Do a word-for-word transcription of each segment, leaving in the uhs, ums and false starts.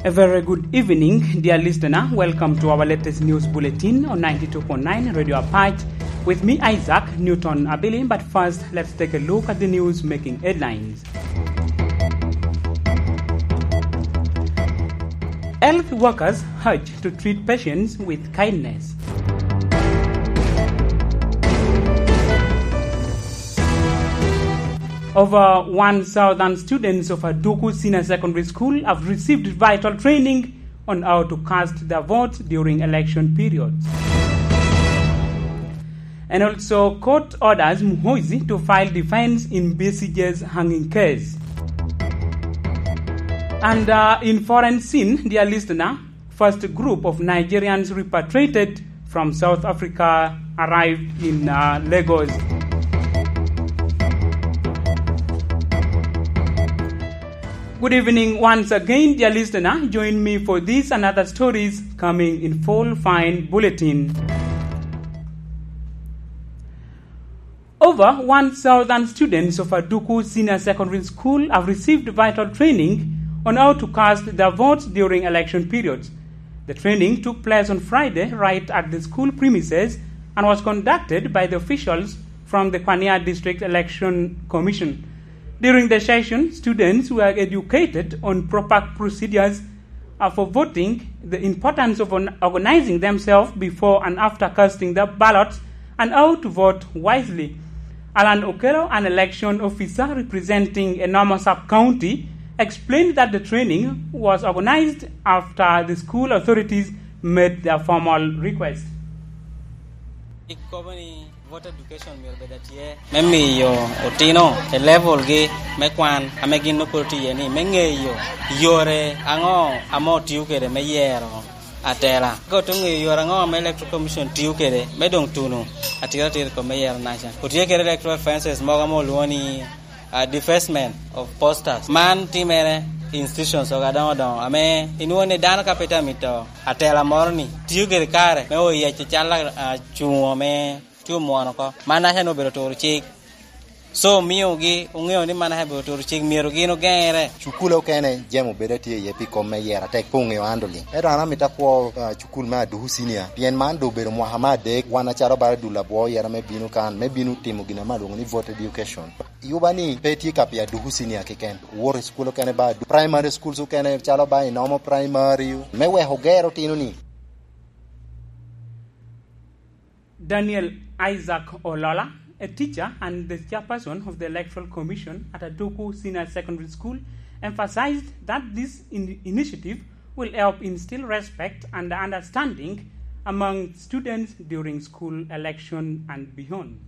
A very good evening, dear listener. Welcome to our latest news bulletin on ninety-two point nine Radio Apache. With me, Isaac Newton Abili. But first, let's take a look at the news making headlines. Health workers urged to treat patients with kindness. Over one thousand students of Aduku Senior Secondary School have received vital training on how to cast their votes during election periods. And also, court orders Muhoozi to file defense in Besigye's hanging case. And, uh, in foreign scene, dear listener, first group of Nigerians repatriated from South Africa arrived in, uh, Lagos. Good evening once again, dear listener. Join me for this and other stories coming in full fine bulletin. Over one thousand students of Aduku Senior Secondary School have received vital training on how to cast their votes during election periods. The training took place on Friday right at the school premises and was conducted by the officials from the Kwania District Election Commission. During the session, students were educated on proper procedures, uh, for voting, the importance of on-, organizing themselves before and after casting the ballots, and how to vote wisely. Alan Okello, an election officer representing Enomo Sub-County, explained that the training was organized after the school authorities made their formal request. Voter education myero bed atye me miyo otino i level gi me kwan ame gin nongo pwod tye iye ni, me ŋeyo yore aŋo ame otio kede me yero atela. Ka ote ŋeyo yore aŋo ame Electoral Commission tio kede me doŋ tuno atira atira i kom me yero naca. Otye kede electoral offences mogo ame olwoŋo ni, uh, defacement of posters. Man timere i institutions ogo adoŋo doŋo ame inwoŋo ni dano ka pe tye amito atela moro ni tio kede kare me oyeco cal a-, acuŋo me tye omwono oko. Man aca ni obedo turo cik. So, omiogi oŋeo ni man aca obedo turo cik, myero gin ogeŋere. Cukule okene jami obedo atye iye pi kom me yero atek pe oŋeo handling. Ento an amito akwo, ah, cukul me Aduku Senior, pien man doŋ obedo mwaka me adek, wan acalo bala dul abwo yero me bino kan, me bino timo gin ame alwoŋo ni vote education. Yuba ni pe tye ka pi Aduku Senior keken, owoto i cukul okene ba Adu-, primary schools okene calo ba Enomo Primary, me weko oger otino ni. Daniel Isaac Olola, a teacher and the chairperson of the Electoral Commission at Aduku Senior Secondary School, emphasized that this in-, initiative will help instill respect and understanding among students during school election and beyond.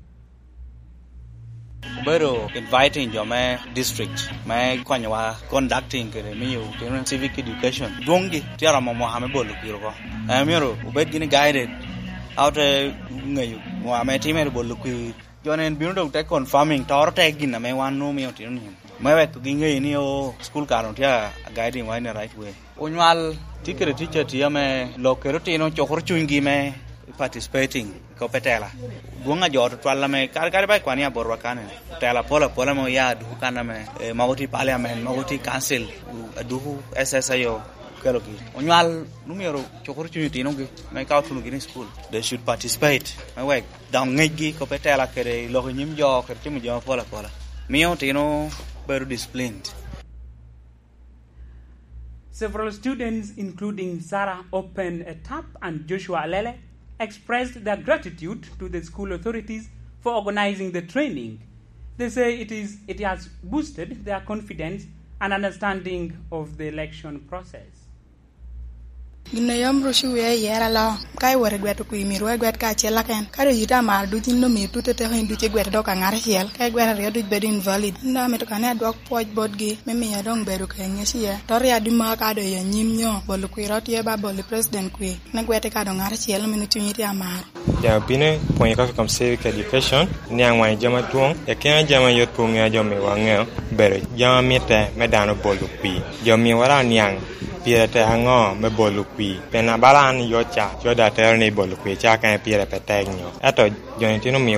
Obedo inviting jo me district me konyowa conducting kede miyo otino civic education. Dwoŋgi tye aromo mwaka me bolo kwir oko. Eh, myero obed gini guided. A ote ŋeyo mwaka ame timere bolo kwir, jo-ni en bino doŋ te confirming, toro te gin ame wan nwoŋo miyo otino ni. Me wek giŋeyo ni, oh, school kare tye a guiding wa in the right way. Onywal tye kede tic atye ame lok kede otino cukoro cunygi me participating i kop etela. Dwoŋ a jo tutwal ame kare kare ba ikwan i abotwa kane, otela apol apol ame oya Aduku kan ame, eh, mogo tye i parliament, mogo tye i council, Aduku S S ayo okelogi. Onywal nwoŋo myero cukoro cuny otinogi me ka otunogi ni i school, they should participate, me wek dok ŋecgi kop etela kede lok i nyim jo kede timo jo apol apola. Miyo otino bedo disciplined. Several students, including Sarah Open Etap and Joshua Alele, expressed their gratitude to the school authorities for organizing the training. They say it is, it has boosted their confidence and understanding of the election process. Gin a yam ruco wiya i yero aloo, ka iwot i gweto kwir, myero wek igwet kacel keken. Ka doŋ yite amaro duc in omiyo tutte teko, in duc igwete dok ka ŋat acel, ka igwero aryo duc bedo invalid. An doŋ amito ka ni adwok pwoc botgi, me miyo doŋ bedo ka i ŋec iye. Toto ya di maka doŋ i anyim nyo bolo kwir tye ba bolo i president kwir, me gwete ka doŋ ŋat acel, meno cuny tye amaro. Ja bino pwonyo ka kom civic education, niaŋ wan i jami adwoŋ, i kine jami a yot pe oŋeo, jo miwa ŋeo, obedo jami a mitte me dano bolo kwir. Jo miwa daŋ oniaŋ pire tek aŋo me bolo kwir. Pien abala an i yot ca, yot atero ni bolo kwir ca kene pire pe tek nyo. Ento jo-ni tino omio